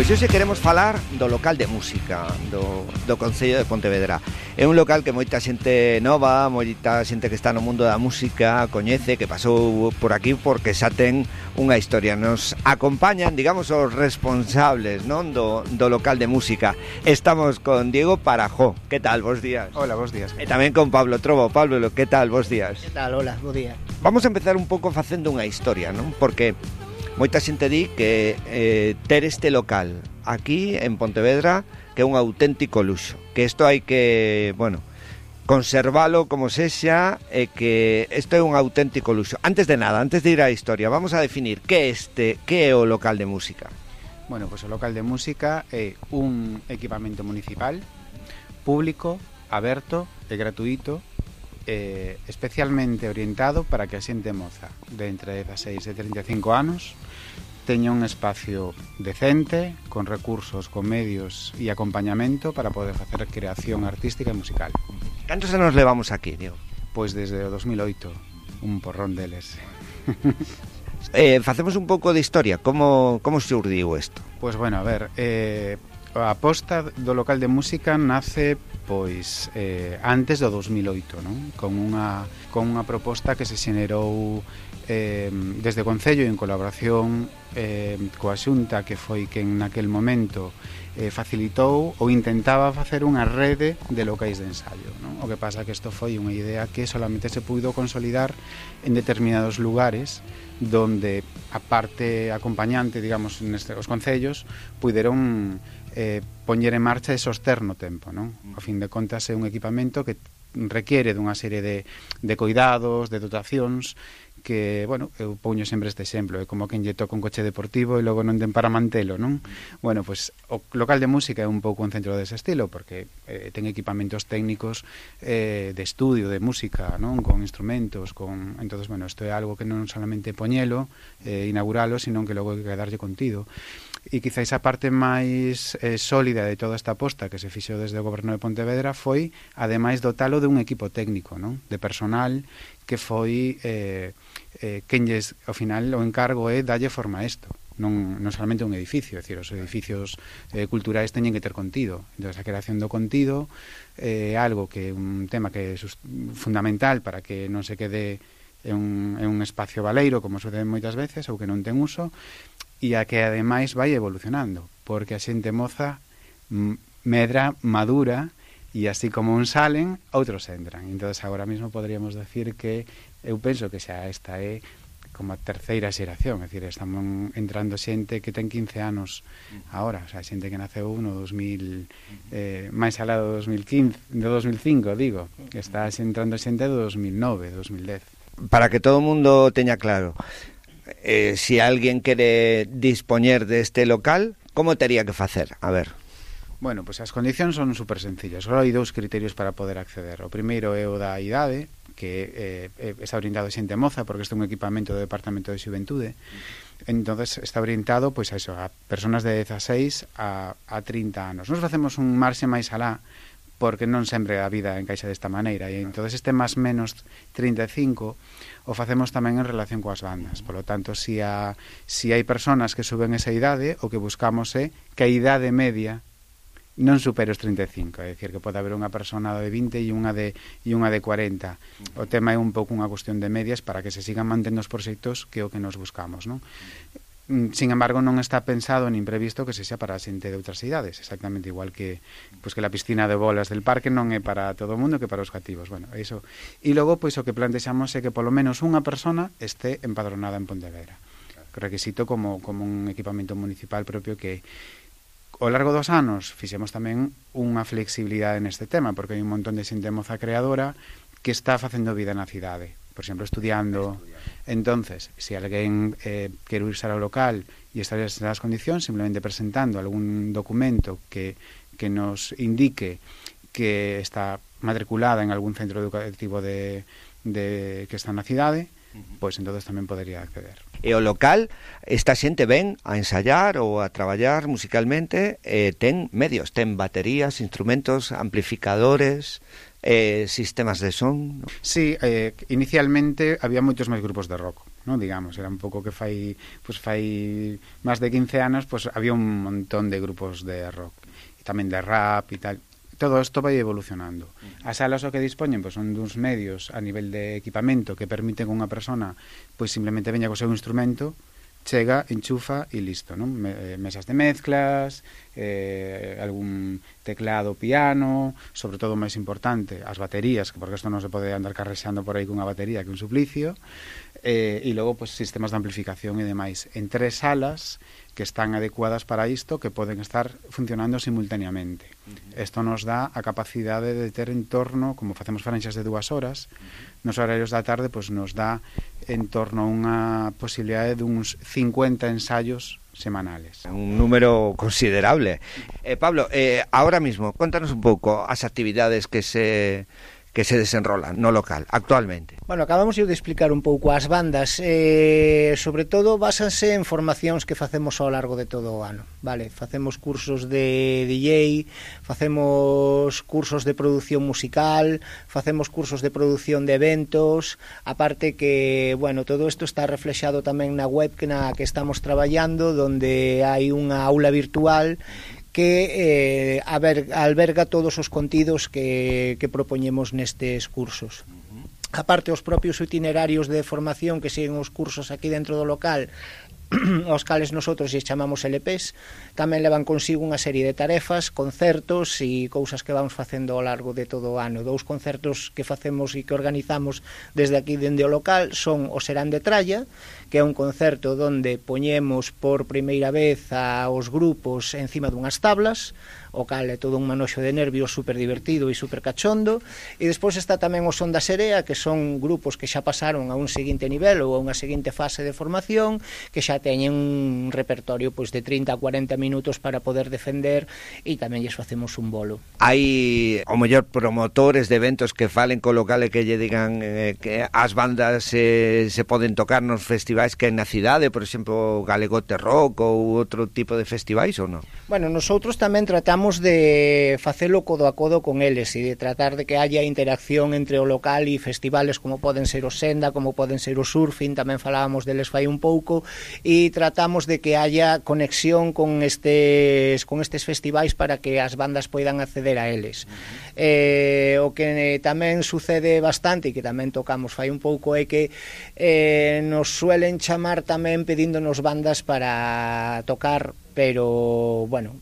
Pois hoxe queremos falar do local de música do Concello de Pontevedra. É un local que moita xente nova, moita xente que está no mundo da música coñece, que pasou por aquí porque xa ten unha historia. Nos acompañan, digamos, os responsables, non, do local de música. Estamos con Diego Parajó. Que tal? Bos días. Hola, bos días. E tamén con Pablo Trobo. Pablo, que tal? Bos días. Que tal? Hola, bo día. Vamos a empezar un pouco facendo unha historia, non? Porque moita xente di que ter este local aquí en Pontevedra que é un auténtico luxo, que isto hai que, bueno, conservalo como sexa e que isto é un auténtico luxo. Antes de nada, antes de ir á historia, vamos a definir que é o local de música. Bueno, pois o local de música é un equipamento municipal, público, aberto e gratuito, especialmente orientado para que a xente moza de entre 16 e 35 anos teña un espacio decente, con recursos, con medios e acompañamento para poder facer creación artística e musical. Cantos anos levamos aquí, Diego? Pois desde o 2008, un porrón deles. Facemos un pouco de historia, como xurdiu isto? Pois bueno, a ver, a aposta do local de música nace pois antes do 2008, non? Con unha proposta que se xenerou desde o Concello en colaboración coa Xunta, que foi quen naquel momento facilitou ou intentaba facer unha rede de locais de ensaio, non? O que pasa que isto foi unha idea que solamente se puido consolidar en determinados lugares donde a parte acompañante, digamos, os concellos puideron poñer en marcha e soster no tempo, non? A fin de contas é un equipamento que requiere dunha serie de cuidados, de dotacións que, bueno, eu poño sempre este exemplo, é como quen lle toca un coche deportivo e logo non ten para mantelo, non? Bueno, pois o local de música é un pouco un centro dese estilo, porque ten equipamentos técnicos de estudio de música, non? Con instrumentos, entonces, bueno, isto é algo que non solamente poñelo, inauguralo, sino que logo hai que darlle contido. E quizáis a parte máis sólida de toda esta aposta que se fixo desde o Goberno de Pontevedra foi, ademais, dotalo dun equipo técnico, non? De personal que foi quenlles, ao final, o encargo é dalle forma a isto, non solamente un edificio, é dicir, os edificios culturais teñen que ter contido. Entón, a creación do contido é algo que é un tema que é fundamental para que non se quede en un espacio baleiro, como sucede moitas veces, ou que non ten uso, e a que ademais vai evolucionando, porque a xente moza medra, madura, e así como uns salen, outros entran. Entón, agora mesmo poderíamos decir que eu penso que xa esta é como a terceira xeración, é dicir, estamos entrando xente que ten 15 anos agora, o sea, xente que naceu no 2000, máis alá do 2015, do 2005, digo, está entrando xente do 2009, 2010. Para que todo o mundo teña claro, si alguén quere dispoñer deste local, como tería que facer? A ver. Bueno, pois as condicións son super sencillas. Só hai dous criterios para poder acceder. O primeiro é o da idade, que está orientado a xente moza, porque este é un equipamento do Departamento de Xuventude. Entonces está orientado pois a eso, a personas de 16 a 30 anos. Nos facemos un marxe máis alá, porque non sempre a vida encaixa desta maneira, e entonces este máis menos 35 o facemos tamén en relación coas bandas. Por lo tanto, si hai personas que suben esa idade, o que buscamos é que a idade media non supere os 35, é dicir, que pode haber unha persona de 20 e unha de 40. O tema é un pouco unha cuestión de medias para que se sigan mantendo os proxectos que é o que nos buscamos, non? Sin embargo, non está pensado nin previsto que sexa para a xente de outras idades, exactamente igual que pois que a piscina de bolas del parque non é para todo o mundo, que para os cativos. Bueno, iso. E logo, pois o que plantexamos é que polo menos unha persona este empadronada en Pontevedra. Requisito como un equipamento municipal propio que ao largo dos anos fixemos tamén unha flexibilidade neste tema, porque hai un montón de xente moza creadora que está facendo vida na cidade, por exemplo, estudiando. Entonces, se alguén quere irse ao local e estar nas condicións, simplemente presentando algún documento que nos indique que está matriculada en algún centro educativo que está na cidade, pois entonces tamén podería acceder. E o local, esta xente ven a ensayar ou a traballar musicalmente, ten medios, ten baterías, instrumentos, amplificadores, sistemas de son. Sí, inicialmente había moitos máis grupos de rock. ¿no? Digamos, era un pouco que fai máis de 15 anos, pues había un montón de grupos de rock e tamén de rap e tal. Todo isto vai evolucionando. As salas o que dispoñen pois, son duns medios a nivel de equipamento que permiten que unha persona pois simplemente veña co seu instrumento, chega, enchufa e listo, non? Mesas de mezclas, algún teclado, piano, sobre todo máis importante, as baterías, porque isto non se pode andar carrexando por aí cunha batería que un suplicio, e logo pois, sistemas de amplificación e demais. En 3 salas que están adecuadas para isto, que poden estar funcionando simultaneamente. Isto nos dá a capacidade de ter en torno, como facemos franxas de 2 horas, nos horarios da tarde pois, nos dá en torno a unha posibilidade de uns 50 ensaios semanales. Un número considerable. Pablo, ahora mismo, contanos un pouco as actividades que se desenrolan no local actualmente. Bueno, acabamos de explicar un pouco as bandas, sobre todo básanse en formacións que facemos ao largo de todo o ano, vale? Facemos cursos de DJ, facemos cursos de produción musical, facemos cursos de produción de eventos, aparte que, bueno, todo isto está reflexado tamén na web na que estamos traballando, donde hai unha aula virtual que alberga todos os contidos que propoñemos nestes cursos. Aparte, os propios itinerarios de formación que siguen os cursos aquí dentro do local, aos cales nosotros lle chamamos LPs, tamén levan consigo unha serie de tarefas, concertos e cousas que vamos facendo ao largo de todo o ano. 2 concertos que facemos e que organizamos desde aquí dende o local son o Serán de Tralla, que é un concerto onde poñemos por primeira vez aos grupos encima dunhas tablas, o cal é todo un manoxo de nervios super divertido e super cachondo, e despois está tamén o Son da Serea, que son grupos que xa pasaron a un seguinte nivel ou a unha seguinte fase de formación, que xa teñen un repertorio pois de 30 a 40 minutos para poder defender, e tamén lles facemos un bolo. Hai o mellor promotores de eventos que falen co local e que lle digan que as bandas se poden tocar nos festivais que na cidade, por exemplo, Galegote Rock ou outro tipo de festivais ou non? Bueno, nosotros tamén tratamos de facelo codo a codo con eles e de tratar de que haya interacción entre o local e festivales como poden ser o Senda, como poden ser o Surfing, tamén falábamos deles fai un pouco, e tratamos de que haya conexión con estes festivais para que as bandas poidan acceder a eles. O que tamén sucede bastante e que tamén tocamos fai un pouco é que nos suelen chamar tamén pedíndonos bandas para tocar, pero bueno,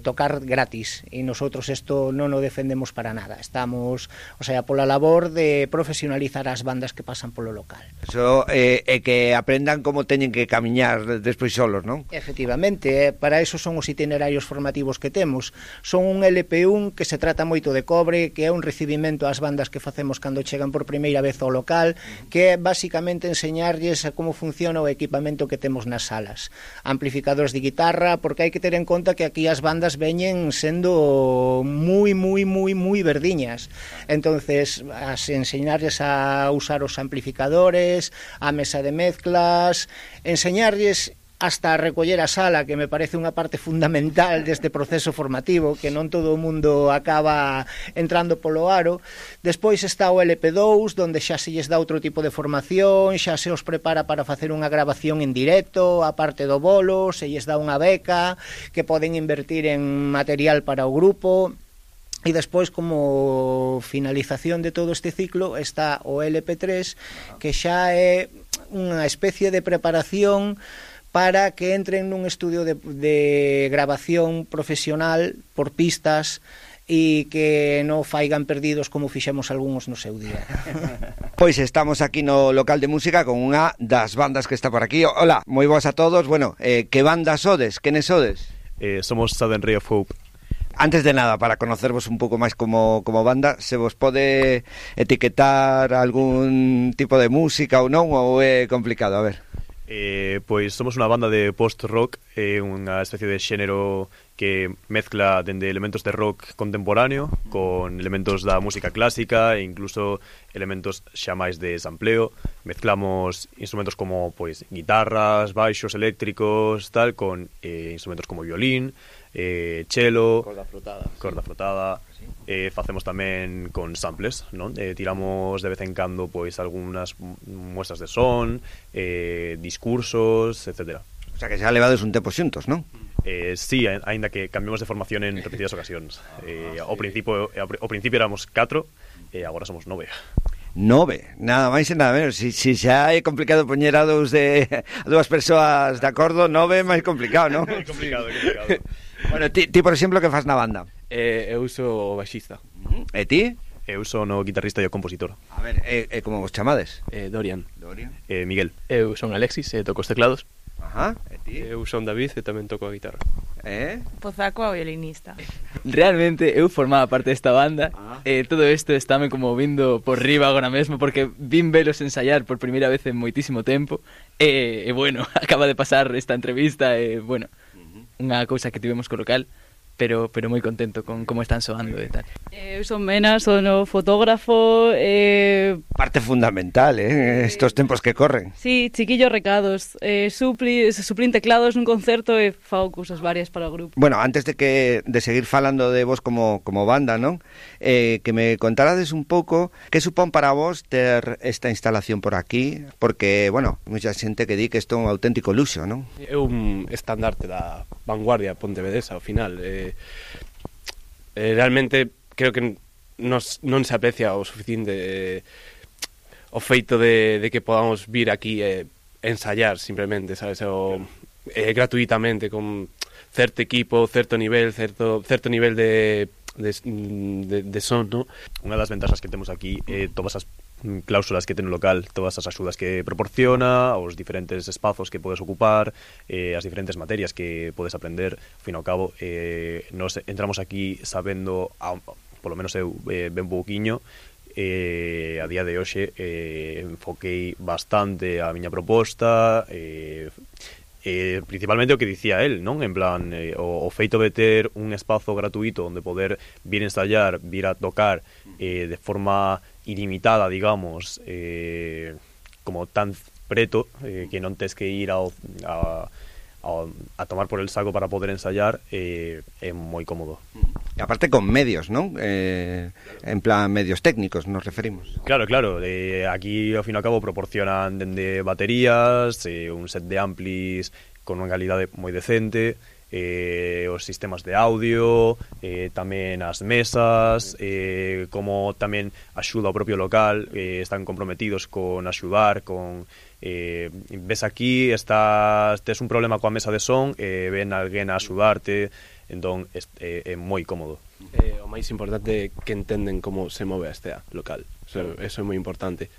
tocar gratis, e nosotros isto non o defendemos para nada. Estamos, o sea, pola labor de profesionalizar as bandas que pasan polo local. Eso é que aprendan como teñen que camiñar despois solos, non? Efectivamente, para eso son os itinerarios formativos que temos. Son un LP1 que se trata moito de cobre, que é un recibimento ás bandas que facemos cando chegan por primeira vez ao local, que é basicamente enseñarlles a como funciona o equipamento que temos nas salas. Amplificadores de guitarra, porque hai que ter en conta que aquí as bandas veñen sendo moi verdiñas. Entonces, as enseñarlles a usar os amplificadores, a mesa de mezclas, enseñarlles hasta recoller a sala, que me parece unha parte fundamental deste proceso formativo, que non todo o mundo acaba entrando polo aro. Despois está o LP2, donde xa se lles dá outro tipo de formación, xa se os prepara para facer unha grabación en directo, a parte do bolo, se lles dá unha beca, que poden invertir en material para o grupo. E despois, como finalización de todo este ciclo, está o LP3, que xa é unha especie de preparación para que entren nun estudio de grabación profesional por pistas e que non faigan perdidos como fixemos algúns no seu día. Pois estamos aquí no local de música con unha das bandas que está por aquí. Hola, moi boas a todos. Bueno, que banda sodes? Quenes sodes? Somos Southern Ray of Hope. Antes de nada, para conocervos un pouco máis como banda, se vos pode etiquetar algún tipo de música ou non, ou é complicado? A ver. Pois somos unha banda de post-rock, unha especie de xénero que mezcla dende elementos de rock contemporáneo con elementos da música clásica e incluso elementos xa máis de sampleo. Mezclamos instrumentos como pois guitarras, baixos eléctricos, tal, con instrumentos como violín, cello, corda frotada. Facemos tamén con samples, non? Tiramos de vez en cando pois algunhas muestras de son, discursos, etcétera. O sea que xa levades un tempo xuntos, non? Sí, aínda que cambiamos de formación en repetidas ocasións. Ao principio éramos 4 e agora somos 9. 9, nada máis e nada menos. Si xa é complicado poñer a dúas persoas de acordo, 9 é máis complicado, non? É complicado. Bueno, ti, por exemplo, que fas na banda? Eu sou o baixista. E ti? Eu son o guitarrista e o compositor. A ver, como vos chamades? Dorian. Miguel. Eu son Alexis e toco os teclados. Ajá, e ti? Eu son David e tamén toco a guitarra. Pozaco a violinista. Realmente eu formaba parte desta banda e todo isto estáme como vindo por riba agora mesmo porque vin velos ensayar por primeira vez en moitísimo tempo e bueno, acaba de pasar esta entrevista e bueno, unha cousa que tivemos co local, pero moi contento con como están soando e tal. Eu son Mena, son o fotógrafo. Parte fundamental, estos tempos que corren. Sí, chiquillos recados. Suplín teclados nun concerto e fago cousas varias para o grupo. Bueno, antes de seguir falando de vos como banda, non? Que me contarades un pouco que supón para vos ter esta instalación por aquí, porque, bueno, mucha xente que di que isto é un auténtico luxo, non? É un estandarte da vanguardia pontevedesa ao final. Realmente creo que non se aprecia o suficiente o feito de que podamos vir aquí ensayar simplemente, sabes, gratuitamente con certo equipo, certo nivel de son, ¿no? Unha das ventaxas que temos aquí é todas as cláusulas que ten o local, todas as axudas que proporciona, os diferentes espazos que podes ocupar, as diferentes materias que podes aprender. Ao fin e ao cabo, nos entramos aquí sabendo, polo menos eu, ben pouquiño. A día de hoxe enfoquei bastante a miña proposta, principalmente o que dicía él, non? En plan, o feito de ter un espazo gratuito onde poder vir ensayar, vir a tocar de forma ilimitada, digamos, como tan preto, que non tes que ir a tomar por el saco para poder ensayar, é moi cómodo. E aparte con medios, non? En plan, medios técnicos nos referimos. Claro, aquí ao fin e ao cabo proporcionan dende baterías, un set de amplis con unha calidade moi decente, os sistemas de audio, tamén as mesas, como tamén axuda ao propio local, están comprometidos con axudar, con ves aquí, tes un problema coa mesa de son, ven alguén a axudarte, entón é moi cómodo. O máis importante é que entenden como se move este local, eso é moi importante.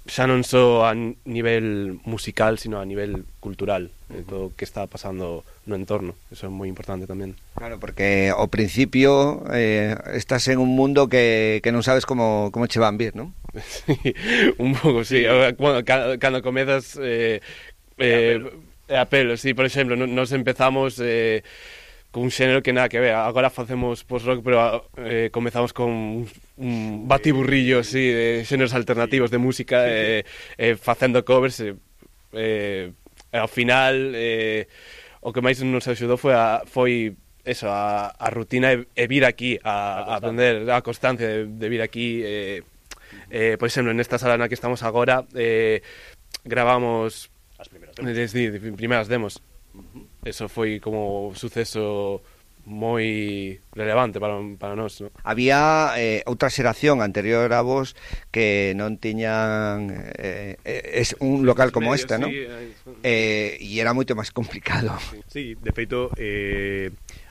Xa non só a nivel musical, sino a nivel cultural, todo o que está pasando no entorno, eso é moi importante tamén. Claro, porque ao principio estás en un mundo que non sabes como che van vir, non? Sí, un pouco, sí. Bueno, cando comezas a pelo, sí, por exemplo, nos empezamos con un xénero que nada que ver. Agora facemos post-rock, pero comezamos con un batiburrillo así de xéneros alternativos de música, facendo covers, ao final o que máis nos axudou foi eso, a rutina e vir aquí a aprender a constancia de vir aquí. Por exemplo, nesta sala na que estamos agora gravamos as primeras demos. Eso foi como un suceso moi relevante para nós, ¿no? Había outra xeración anterior a vos que non tiñan un local como este, ¿no? E era moito máis complicado. Sí, de feito,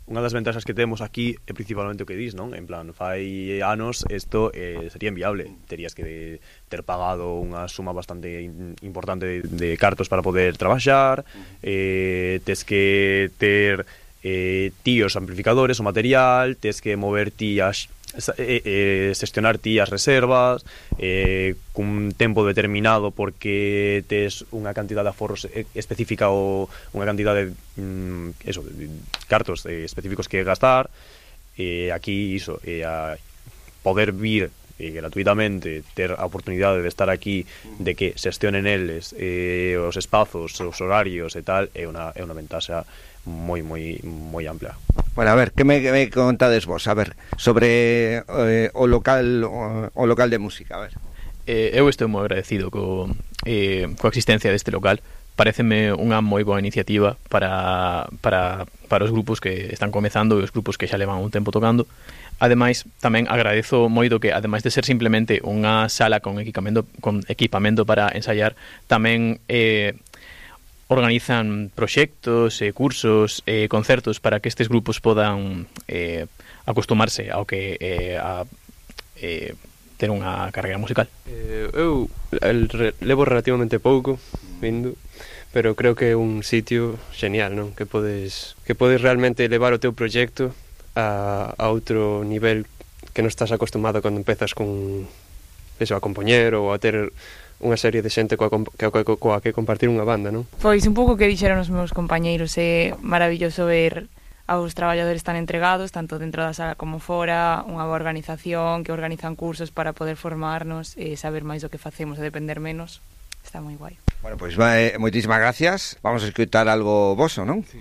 unha das ventaxas que temos aquí é principalmente o que dis, non? En plan, fai anos isto sería inviable. Terías que ter pagado unha suma bastante importante de cartos para poder traballar, tes que ter ti os amplificadores, o material, tes que mover ti as xestionar ti as reservas cun tempo determinado porque tes unha cantidad de aforros específica ou unha cantidad de cartos específicos que gastar, aquí iso, a poder vir gratuitamente, ter a oportunidade de estar aquí, de que xestionen eles os espazos, os horarios e tal, é unha ventaxa moi amplia. Bueno, a ver, que me contades vos? A ver, sobre o local de música, a ver. Eu estou moi agradecido coa existencia deste local. Pareceme unha moi boa iniciativa para os grupos que están comezando e os grupos que xa levan un tempo tocando. Ademais, tamén agradezo moito que, ademais de ser simplemente unha sala con equipamento para ensaiar, tamén organizan proxectos, cursos, concertos para que estes grupos podan acostumarse ao que ter unha carreira musical. Eu levo relativamente pouco vindo, pero creo que é un sitio genial, non? Que podes realmente levar o teu proxecto a outro nivel que non estás acostumado cando empezas con eso, a compoñer ou a ter unha serie de xente coa que compartir unha banda, non? Pois un pouco que dixeron os meus compañeiros, é maravilloso ver aos traballadores tan entregados, tanto dentro da sala como fora, unha boa organización, que organizan cursos para poder formarnos e saber máis do que facemos e depender menos. Está moi guai. Bueno, pois moitísimas gracias. Vamos a escutar algo voso, non? Sí.